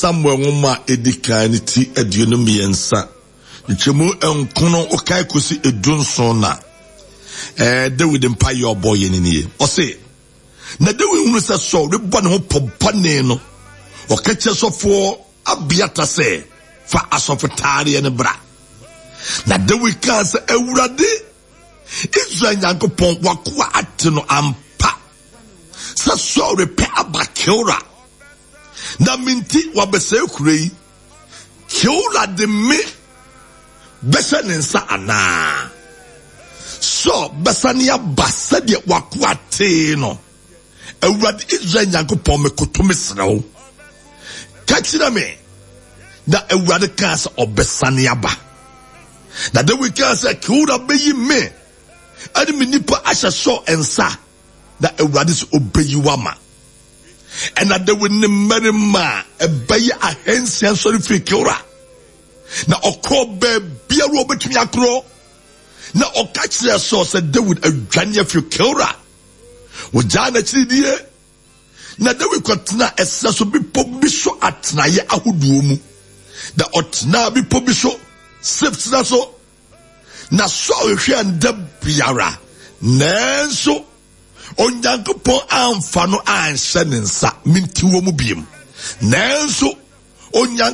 Samuel nwoma a edi kan no ti 23, nkyɛmu nkono wokae kosi 17 na ɛɛ Dawid mpaeɛ ɔbɔ yɛ ne nie. Ɔse, na Dawid hunu sɛ Saul rebɔ ne ho pɔ bɔne no, ɔka kyerɛ sɔfoɔ Abiata sɛ, fa asɔfotaareɛ no bra. Na Dawid kaa sɛ, Awurade, Israel Nyankopɔn, w'akoa ate no ampa sɛ Saul repɛ aba Keora, na me nti wabɛsɛe kuro yi. Keora de me bɛhyɛ ne nsa anaa? Saul bɛsane aba sɛdeɛ w'akoa tee no. Awurade Israel Nyankopɔn, mekoto mesrɛ wo, ka kyerɛ me. Na Awurade kaa sɛ ɔbɛsane aba. Na Dawid kaa sɛ, Keora bɛyi me ɛne me nipa ahyɛ Saul nsa, na Awurade sɛ ɔbɛyi wo ama. Ɛna Dawid ne mmarima a ɛbɛyɛ ahansia sɔre firi Keora, na ɔkɔɔ baabiara a ɔbɛtumi akorɔ, na ɔka kyerɛɛ Saul sɛ Dawid adwane afiri Keora. Wɔgyaa n'akyiridie, na Dawid kɔtenaa ɛserɛ so bepɔ bi so atenaeɛ ahodoɔ mu. Na ɔtenaa bepɔ bi so, Sif serɛ so. Na Saul hwehwɛɛ no da biara, nanso Onyankopɔn amfa no anhyɛ ne nsa. Mente wɔ mu biem. Nanso Onyankopɔn.